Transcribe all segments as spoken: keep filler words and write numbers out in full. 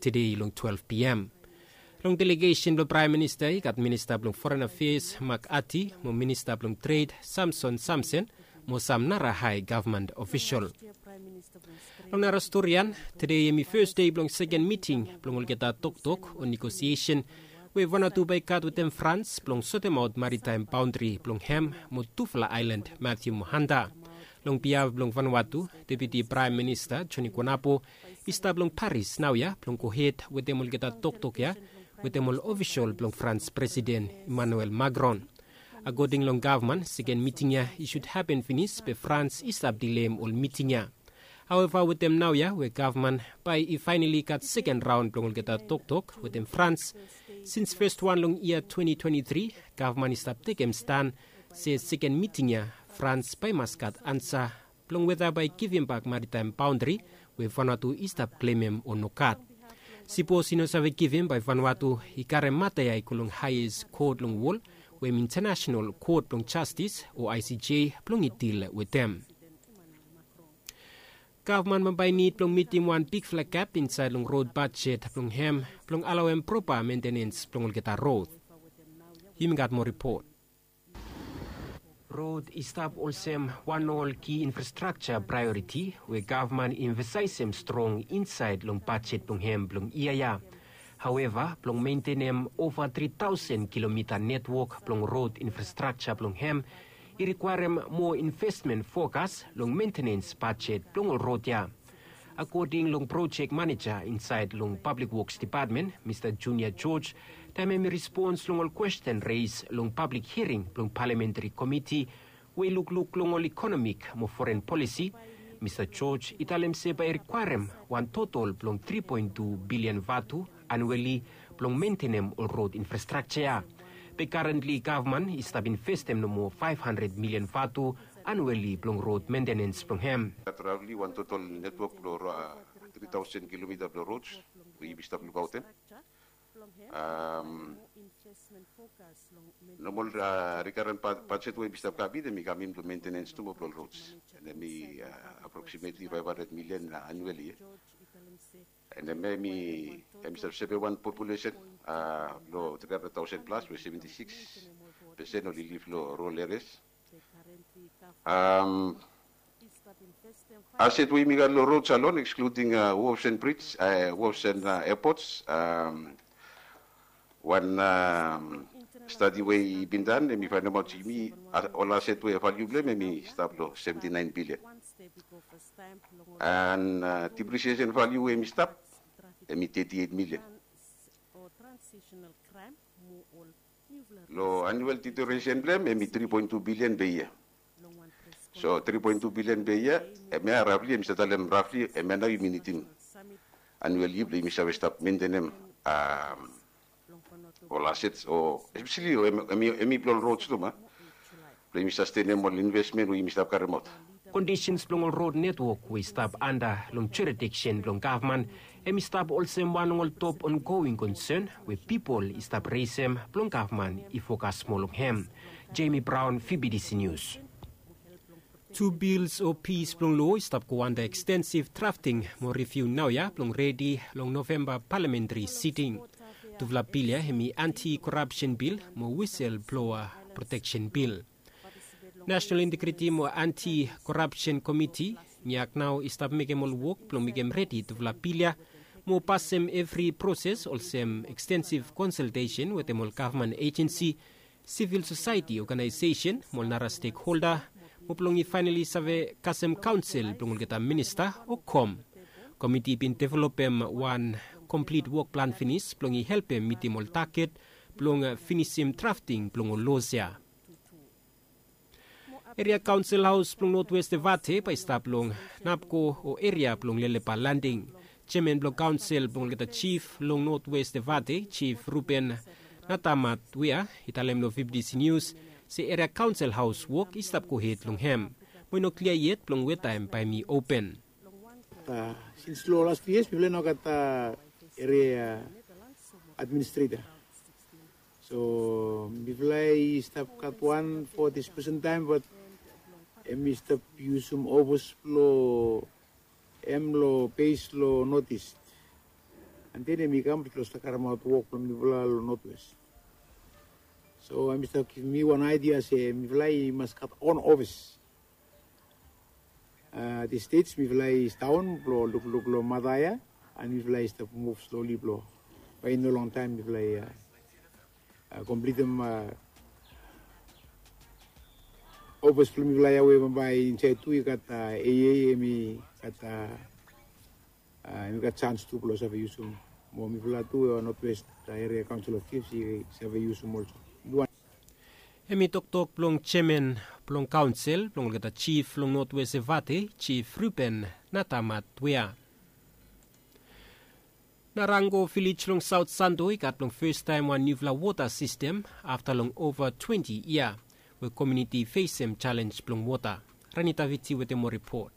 tede long twelve p m. Long delegesen blong Praem Minista i gat Minista blong Foren Afeas Mak Ati mo Minista blong Tred Samson Samsen mo sam nara hae gavman ofisol. Long nara storian, tede hemi fes dei blong seken miting blong olgeta toktok o negosiesen we Vanuatu bae i gat wetem Frans blong sotemaot maritaem baondri blong hem mo tufala aelan Mathew mo Hunter. Long biaf blong Vanuatu, Deputi Praem Minista Joni Konapo i stap long Paris naoia blong gohed wetem olgeta toktok ya wetem ol ofisol blong Frans Presiden Emmanuel Macron. Akoding long gavman, seken miting ya i sud hapen finis be Frans i stap dileim ol miting ya. Haoeva, wetem naoia we gavman bae i faenali gat seken raon blong olgeta toktok wetem Frans sins fes wan long yia twenti twenti tri, gavman i stap tekem stan se seken miting ya Frans bae i mas gat ansa blong weta bae i givimbak maritaem baondri we Vanuatu i stap klemem o nogat. Sipos i no save givim, bae Vanuatu i karem mata ya i go long haes kot long wol we hem Intanasenal Kot blong Jastis o I C J blong i dil wetem. Gavman bambae i nid blong mitim wan bigfala gap insaed long rod bajet blong hem blong alaoem propa mentenens blong olgeta rod. Yumi gat moa ripot. Rod i stap olsem wan ol ki infrastrakja praeoriti we gavman i emfasaesem strong insaed long bajet blong hem blong yia ya. Haoeva, blong mentenem ova tri taosen kilomita netwok blong rod infrastrakja blong hem i rikwaerem moa investmen fokas long mentenens bajet blong ol rod ya. Akoding long projek maneja insaed long Pablik Woks Depatmen, Mista Junior George, taem hem i respons long ol kwesten res long pablik hiring blong Palementari Komiti we i lukluk long ol ikonomik mo foren polisi, Mista George i talem se bae i rikwaerem wan totol blong tri poen tu bilian vatu anueli blong mentenem ol rod infrastrakja ya. Be karentli gavman i stap investem nomo faef handred milian vatu anueli blong rod mentenens blong hem. Gat rafli wan totol netwok blong ro- a, tri taosen kilomita blong rods we yumi stap lukaotem. Am, nomol, a, rikaren ba- bajet we yumi stap kamit, hemi kamim blong mentenens tu mo blong rods. And hemi, a, aproksimetli faef handred milian, a, anueli. And hemi, hemi stap save wan populesen, a, blong tri handred taosen plas we seventi sikis pesen oli liv long rural areas. Am, aset we yumi gat long rods alone, excluding, a, wharfs and bridge, a, wharfs and, a, airports, am, wan, am, stadi we i bin dan, hemi faenemaot yumi, a, ol aset we valiu blong hem hemi stap long seventi naen bilian. And, a, depresiesen valiu we hemi stap, hemi teti eit milian. Long anuel deterioresen blong hem, hemi tri poen tu bilian pe yia. So tri poen tu bilian pe yia, hemia rafli, hemi stap talem rafli, hemia nao yumi nidim anueli blong yumi save stap mentenem, am, ol asets o espeseli o hemi, hemi, hemi blong ol rods tu ma blong yumi sastenem ol investmen we yumi stap karemaot. Kondisens blong ol rod netwok we i stap anda long jurisdiksen blong gavman, hemi stap olsem wan long ol top ongoing konsen we pipol i stap resem blong gavman i fokas moa long hem. Jamie Brown, V B D C News. Tu bils o pis blong loa i stap go anda ekstensif drafting mo riviu naoia blong redi long Novemba palamentari siting. Tufala bil ya hemi anti-korapsen bil mo wiselbloa proteksen bil. Nasenal Integriti mo Anti-Korapsen Komiti, NIAC, nao i stap mekem ol wok blong mekem redi tufala bil ya mo pasem evri proses olsem ekstensif konsaltesen wetem ol gavman ejensi, sivil sosaeti oganaesesen mo ol nara stekholda mo blong i faenali save kasem kaonsel blong olgeta minista o kom. Komiti i bin developem wan komplit wok plan finis blong i helpem mitim ol taget blong finisim drafting blong ol loas ya. Eria Kaonsel Haos blong Notwest Evate bae i stap long Napko o eria blong Lelepa Landing. Jeaman blong kaonsel blong olgeta jif long Notwest Evate, Jif Ruben Natamat Wea, i talem long V B D C Nius se eria kaonsel haos wok i stap gohed long hem mo i no klia yet blong weta hem bae hem i open. Sins long las tu yias mifala i no gat eria administreta. So mifala i stap gat wan fo disbusen taem, bat hem i stap yusum ofis blong hem long bes long North East. Then em i kam blong stap karemaot wok blong mifala long Northwest. So em i stap givim mi wan aidia se mifala i mas gat on ofis. Di stage mifala i staon blong lukluk long mata ya, and mifala i stap muv sloli blong bae i no longtaem mifala i komplitim ofis blong mifala ya we bambae insaed tu i gat aa em i gat aa em i gat sans tu blong save yusum mo mifala tu Northwest Area Council of Chiefs i save yusum olsem. Em i toktok blong jeaman blong kaonsel blong olgeta jif long Notwes Evate, Jif Ruben Natamat Wea. Narango vilej long Saot Santo i gat long festaem wan niufala wota sistem afta long ova twenti yia we komiuniti i fesem jalenj blong wota. Ranita Viti wetem moa ripot.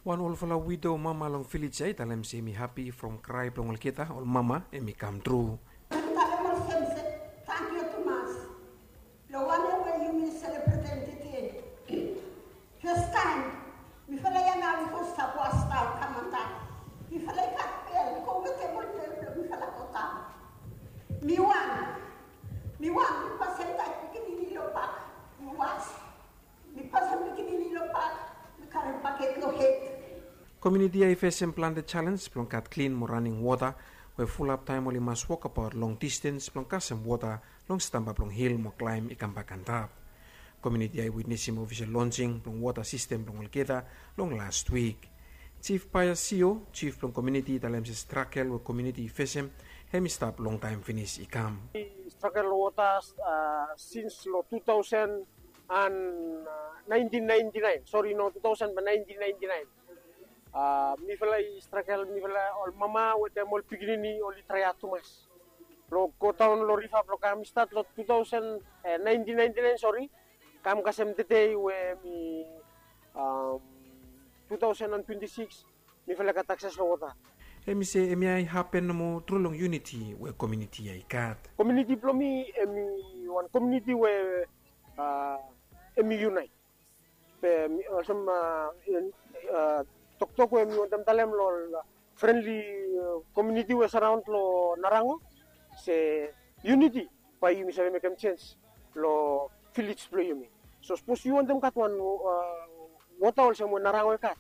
Wan olfala wido mama long vilej ya i talem se mi hapi from krae blong olgeta ol mama em i kam tru. Talem olsem se tangkiu tumas long wanem we yumi selebretem tede. Festaem mifala ya nao i go stap was nao kam antap. Mifala i gat bel i go wetem ol bel blong mifala go daon. Mi wan mi wan mi pasem taet pikinini long pak mi was. Mi pasem pikinini long pak mi karem baket long hed. Komiuniti ya i fesem plante jalenj blong gat klin mo raning wota we fulap taem oli mas wokabaot long distens blong kasem wota long stamba blong hil mo klaem i kambak antap. Komiuniti ya i witnesim ofisel lonsing blong wota sistem blong olgeta long last wik. Jif Paia Sio, jif blong komiuniti i talem se strakel we komiuniti i fesem hem i stap longtaem finis i kam. Strakel long wota sins long tu taosen and naentin naentin naen, sori, no, tu taosen ba naentin naentin naen. Mifala i strakel, mifala ol mama wetem ol pikinini oli traeaot tumas blong godaon long riva blong kam i stat long tu taosen naentin naentin naen, sori, kam kasem tede we mi tu taosen and twenti sikis mifala i gat akses long wota. Hem i se hemia i hapen nomo tru long yuniti we komiuniti ya i gat. Komiuniti blong mi hem i wan komiuniti we hem i yunaet. Be olsem toktok we mi wantem talem long ol frenli komiuniti we saraon long Narango se yuniti bae yumi save mekem jens long vilej blong yumi. So sapos yu wantem gat wan wota olsem we Narango i gat,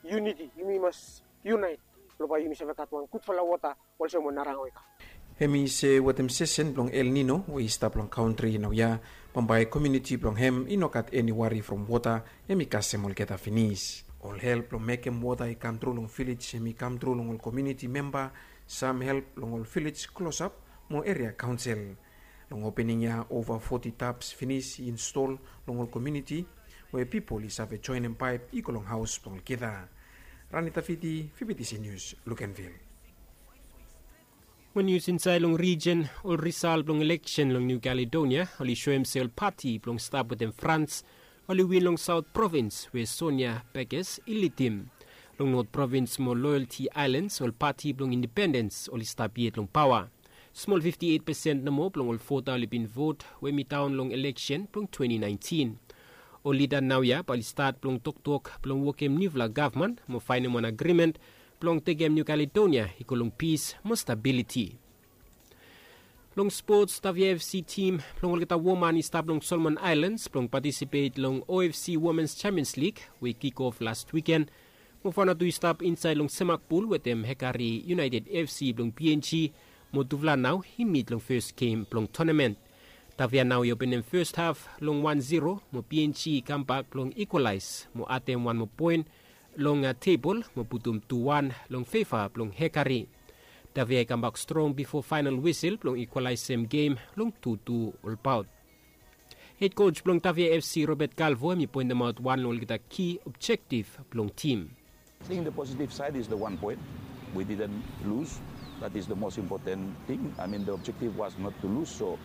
yuniti, yumi mas yunaet blong bae yumi save gat wan gudfala wota olsem we Narango i gat. Hem i se wetem sesen blong El Nino we i stap long kantri naoia, bambae komiuniti blong hem i no gat eni wari from wota hem i kasem olgeta finis. Ol help blong mekem wota i kam tru long vilej hem i kam tru long ol komiuniti memba, sam help long ol vilej klosap mo eria kaonsel. Long opening ya ova foti taps finis i install long ol komiuniti we pipol i save joenem paep i go long haos blong olgeta. Ranita Viti, Vivitisi Nius, Lukenvil. Mo nius insaed long rijen, ol risal blong ileksen long Niu Kaledonia oli soem se ol pati blong stap wetem Frans oli win long Saot Provins we Sonia Bekes i lidim. Long Not Provins mo Loyalti Aelans ol pati blong indipendens oli stap yet long paoa. Smol fifti eit pesen nomo blong ol vota oli bin vot we mi daon long ileksen blong twenti naentin. Ol lida naoia bae oli stat blong toktok blong wokem niufala gavman mo faenem wan agrimen blong tekem Niu Kaledonia i go long pis mo stabiliti. Long spots, Tavia FC tim blong olgeta woman i stap long Solomon Aelans blong patisipet long OFC Womens Champions Lig we i kik of las wiken. Mo Vanuatu i stap insaed long semak pul wetem Hekari United FC blong PNG mo tufala nao i mit long fes gem blong tonamen. Tavia nao i openem fes haf long wan zero mo PNG i kambak blong ikwalaes mo adem wan moa poen long tebol mo putum tu wan long feva blong Hekari. Tavia i kambak strong bifo faenal wisel blong ikwalaesem gem long tu tu olbaot. Hed koj blong Tavia FC Robert Calvo hem i poentemaot wan long olgeta ki objektif blong tim. I think the positive side is the one point. We didn't lose. That is the most important thing. I mean, the objective was not to lose, so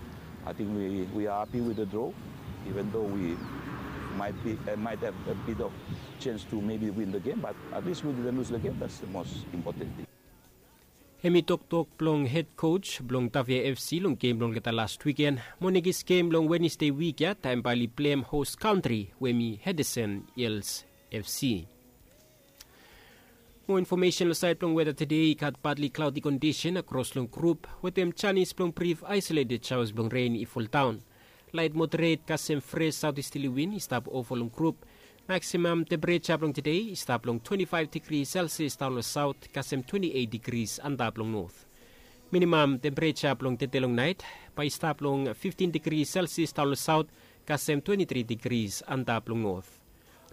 I think we, we are happy with the draw, even though we might be uh, might have a bit of chance to maybe win the game, but at least we didn't lose the game. That's the most important thing. Hem i toktok blong hed koj blong Tavia FC long gem blong olgeta las wiken mo nekis gem long Wenesde wik ya taem bae oli plem hos kantri we hem i Hedesen Hils FC. Mo infomesen long saed blong weta tede i gat badli klaodi kondisen akros long grup wetem janis blong brif aisoleted saos blong ren i foldaon. Laet moderet kasem fres saotistili win i stap ova long grup. Maksimam tempereja blong tede i stap long twenti faef digri selsias daon long saot kasem twenti eit digris antap long not. Minimam tempereja blong tede long naet bae i stap long fiftin digri selsias daon long saot kasem twenti tri digris antap long not.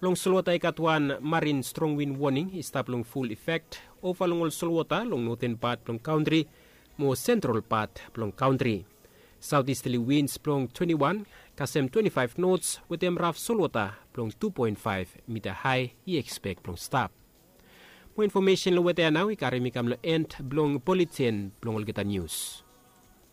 Long solwota i gat wan marin strong win woning i stap long ful efek ova long ol solwota long noten pat blong kantri mo sentral pat blong kantri. Saotistali wins blong twenti wan kasem twenti faef nots wetem raf solwota blong tu poen faef mita hae i ekspek blong stap. Mo infomesen long weta ya nao i karim i kam long en blong buletin blong olgeta nius.